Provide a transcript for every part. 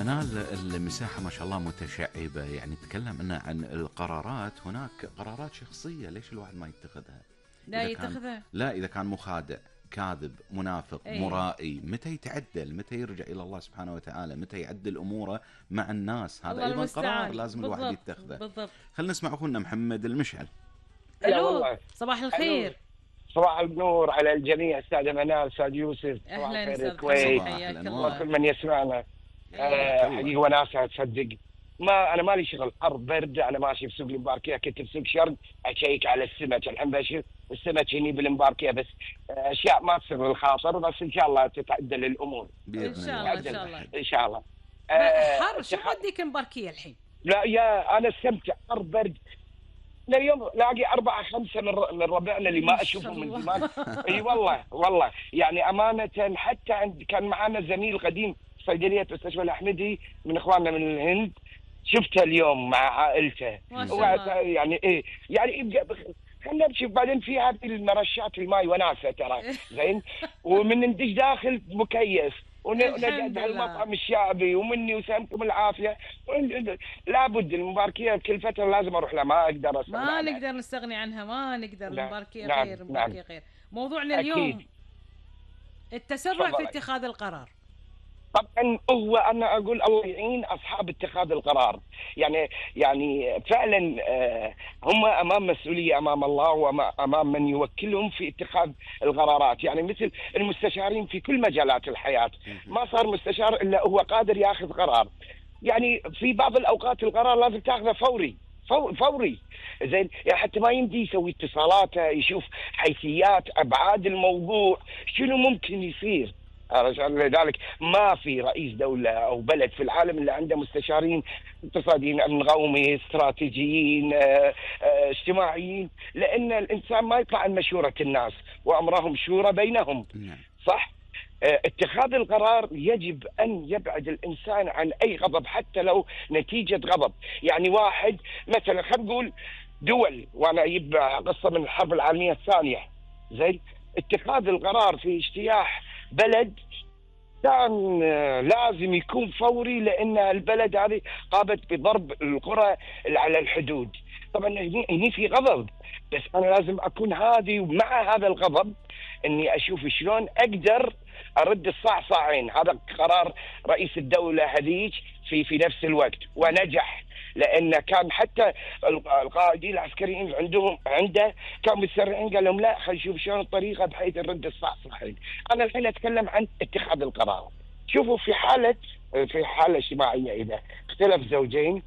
منال، المساحة ما شاء الله متشعبة، يعني تكلم عن القرارات. هناك قرارات شخصية، ليش الواحد ما يتخذها؟ لا يتخذها. لا، إذا كان مخادع، كاذب، منافق، مرائي، متى يتعدل؟ متى يرجع إلى الله سبحانه وتعالى؟ متى يعدل أموره مع الناس؟ هذا أيضا قرار لازم الواحد يتخذه. بالضبط. خلينا نسمع أخونا محمد المشعل. ألو، صباح الخير. صباح النور على الجميع، أستاذ منال، أستاذ يوسف، أهلا أستاذ الكويت وكل من يسمعنا. حقيقة وناسة تصدق، ما أنا مالي شغل، حر برد، أنا ماشي بسوق المباركية، كنت بسوق شرق أشيك على السمك، الحين بشوف السمك هني بالمباركية، بس أشياء ما تصير بالخاطر، بس إن شاء الله تتعدل الأمور إن شاء الله. إن شاء الله إن شاء الله. حر شو وديك المباركية الحين؟ لا يا أنا استمتع، حر برد. اليوم لاقي 4-5 من ربعنا اللي ما أشوفهم من زمان. اي والله يعني أمانة. حتى كان معنا زميل قديم صيدلية مستشفى الأحمدي من إخواننا من الهند، شفته اليوم مع عائلته. ما شاء الله. يعني يبقى خلنا نمشي. بعدين في هذه المرشات الماء وناسة ترى زين، ومن ندش داخل مكيف ونقعد هالمطعم الشعبي، ومني وسامكم العافيه. لابد المباركيه كل فتره لازم اروح لها، ما اقدر استغنى ما عنها. نقدر نستغني عنها، ما نقدر. المباركيه نعم. غير، المباركيه غير. موضوعنا اليوم التسرع في اتخاذ القرار. طبعا انا اقول الله يعين اصحاب اتخاذ القرار، يعني فعلا هم امام مسؤوليه امام الله وامام من يوكلهم في اتخاذ القرارات. يعني مثل المستشارين في كل مجالات الحياه، ما صار مستشار الا هو قادر ياخذ قرار. يعني في بعض الاوقات القرار لازم تاخذه فوري زين، يعني حتى ما يمدي يسوي اتصالاته، يشوف حيثيات ابعاد الموضوع شنو ممكن يصير. لذلك ما في رئيس دولة أو بلد في العالم اللي عنده مستشارين اقتصاديين، نظامي، استراتيجيين، اجتماعيين، لأن الإنسان ما يطلع عن مشورة الناس وأمرهم شورى بينهم. صح؟ اتخاذ القرار يجب أن يبعد الإنسان عن أي غضب، حتى لو نتيجة غضب. يعني واحد مثلا، خلينا نقول دول، وأنا أجيب قصة من الحرب العالمية الثانية زين، اتخاذ القرار في اجتياح بلد كان لازم يكون فوري، لأن البلد هذه قامت بضرب القرى على الحدود. طبعا هني في غضب، بس أنا لازم أكون هادي، ومع هذا الغضب أني أشوف شلون أقدر أرد الصعصعين. هذا قرار رئيس الدولة هذيك في نفس الوقت، ونجح، لأن كان حتى القائدين العسكريين عنده كانوا متسرعين، قال لهم لا، خلينا نشوف شلون الطريقة بحيث نرد الصعصعين. أنا الحين أتكلم عن اتخاذ القرار. شوفوا في حالة اجتماعية، إذا اختلف زوجين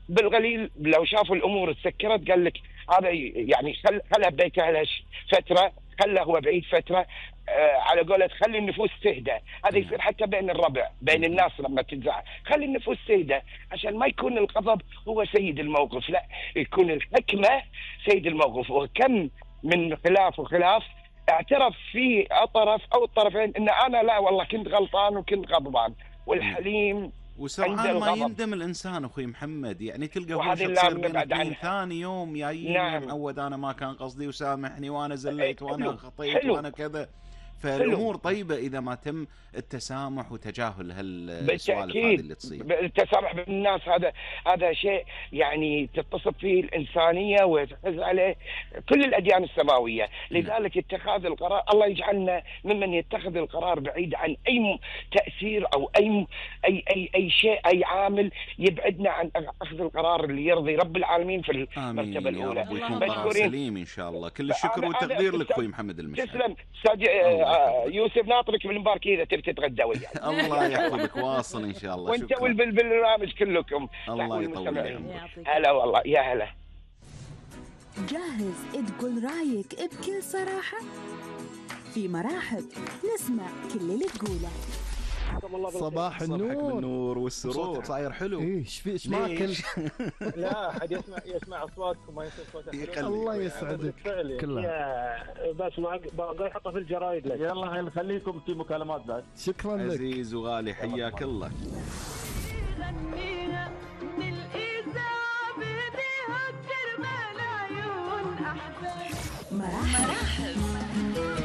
بالقليل لو شافوا الأمور تسكرت، قال لك هذا يعني خلها ببيتها فترة، خله هو بعيد فترة، على قولة خلي النفوس تهدى. هذا يصير حتى بين الربع، بين الناس لما تنزع، خلي النفوس تهدى عشان ما يكون الغضب هو سيد الموقف، لا، يكون الحكمة سيد الموقف. وكم من خلاف اعترف فيه الطرف أو الطرفين إن أنا لا والله كنت غلطان وكنت غضبان. والحليم وسرعان ما يندم الإنسان أخوي محمد، يعني تلقى هو تصير بين اثنين، ثاني يوم جايين معود أنا ما كان قصدي وسامحني وأنا زليت وأنا خطيت وأنا كذا. فالأمور طيبة إذا ما تم التسامح وتجاهل هالسوالف هذه اللي تصير. التسامح بين الناس هذا شيء يعني تتصف فيه الإنسانية وتحز عليه كل الأديان السماوية. لذلك اتخاذ القرار، الله يجعلنا ممن يتخذ القرار بعيد عن أي تأثير أو أي شيء، أي عامل يبعدنا عن أخذ القرار اللي يرضي رب العالمين في المرتبة الأولى. ويكون قرار سليم إن شاء الله. كل الشكر والتقدير لك أخوي محمد المشعل. تسلم يوسف، ناطرك بالمباركة إذا تبي تتغدى وياي. الله يحفظك، واصل إن شاء الله. وانت والبرنامج كلكم. الله يطول عمرك. هلا والله، يا هلا. جاهز تقول رايك بكل صراحة؟ في مرحب نسمع كل اللي تقوله. صباح النور والسرور، صاير حلو. ايش معك؟ لا احد يسمع اصواتكم، ما يسمع صوتك. الله يسعدك كلها. بس ما اقدر احطها في الجرايد لك. يلا خليكم في مكالمات بعد. شكرا لك عزيز وغالي، حياك الله.